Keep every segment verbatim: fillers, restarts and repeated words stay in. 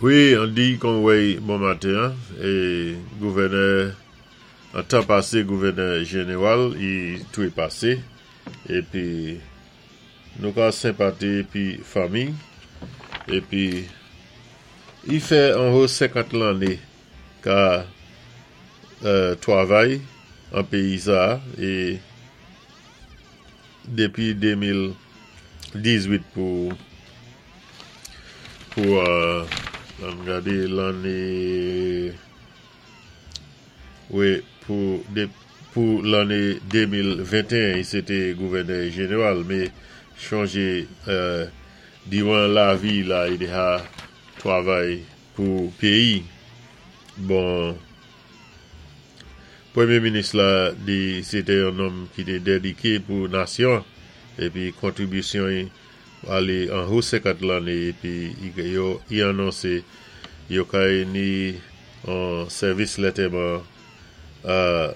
Wi, an di kon wèy bon maten, é gouvènè, an tan pasé gouvènè jénéwal, i toui pasé, épi nou ka senpati pi fanmi, épi i fè anwo senkant lanné ka euh, twavay an péyi sa, é dépi démil dizwit pou pou euh, an gadé lanné wi pou dé, pou lanné démil ventéen i sé té gouvènè jénéwal, mé chonjé euh, diwan lavi la i déja twavay pou péyi. Bon, Pwémyé minis la di sé té yon nonm ki té dédiké pou nasyon épi kontribisyon alé an wo senkant lanné épi yo i anonsé yo kay ni an sèvis lantèman euh,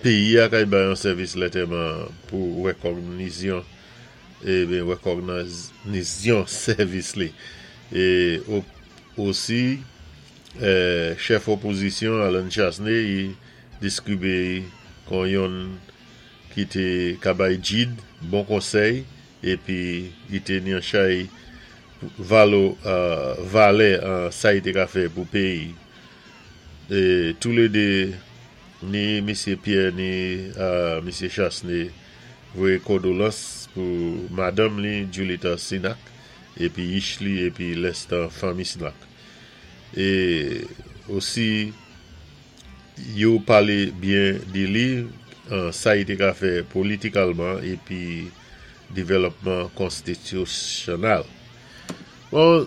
péyi a kay bay an sèvis lantèman pou wékògnisyon é wékògnisyon sèvis li. É osi euh, chèf opozisyon Allen Chastanet i diskribé kon yonn ki té ka bay djid bon konsèy épi i té ni an chay valo euh, valè an sa i té ka fè pou péyi. É toulédé ni Misyé Pierre ni euh, Misyé Chastanet voyé kondolans pou madanm li Julita Sinak épi yich li épi lèstan fanmi Sinak. É osi yo palé byen di li an sa i té ka fè politikalman épi dévlòpman konstitisyonèl. Bon,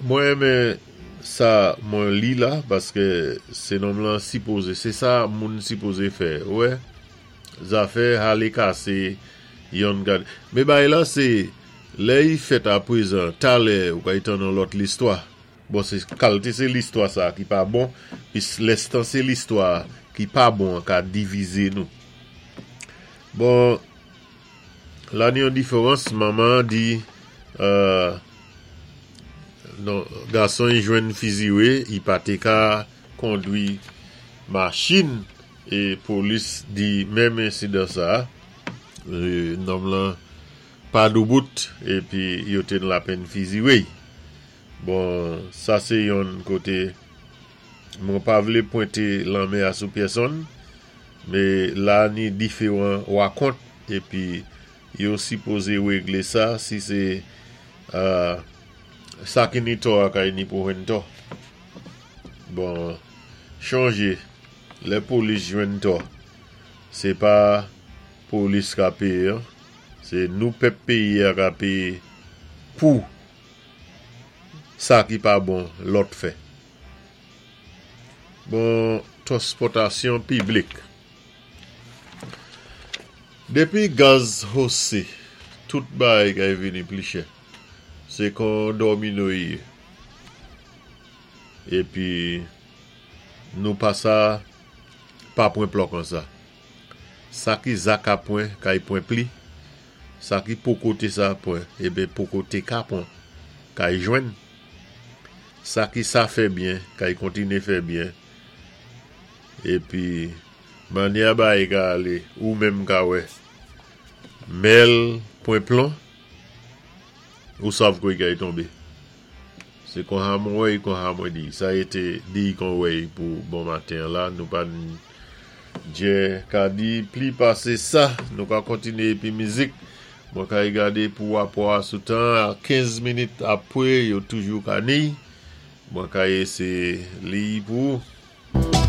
mwen renmen sa mwen li la paské sé nonm lan sipozé, sé sa moun sipozé fè, wè, zafè alé kasé yon gad. Mé bay la sé lè i fèt aprezan, talè ou kay tann lòt listwa. Bon, sé kalté sé listwa sa ki pa bon, pi lèstan sé listwa ki pa bon ka divizé nou. Bon, la ni yon diferans, manman di euh, non, gason i jwenn fiziwé, i pa té ka kondwi machin é polis di menm ensidan sa, euh, nonm lan pa doubout épi yo té lapenn fiziwé. Bon, sa sé yon koté mwen pa vlé pwenté lanmen a sou pèsonn, mé la ni diferan wakont épi yo sipozé réglé sa si sé euh, sa ki ni tò a kay ni pou jwenn tò. Bon, chonjé, lè polis jwenn tò, sé pa polis ka péyé, sé nou pèp péyi a ka péyé pou sa ki pa bon lòt fè. Bon, transpòtasyon piblik. Dépi gaz hosé, tout bagay kay vini pli chè. Sé kon domino i yé. Épi nou pa sa pa pwan plò kon sa. Sa ki za ka pwan, kay pwan pli. Sa ki poko té sa pwan, ébé poko té ka pwan, kay jwenn. Sa ki sa fè byen, kay kontiné fè byen. Épi, mannyè bagay ka alé, ou menm ka wè. Mèl pwan plon, ou sav koy kay tonbé. Sé kon ha mwen wè, kon ha mwen di. Sa été di kon wè pou bon maten la, nou pa djè ka di pli pasé sa, nou ka kontiné épi mizik. Mwen kay gadé pou wapò a sou tan, a kenz minit apwé, yo toujou ka ni. Mwen kay sé li pou.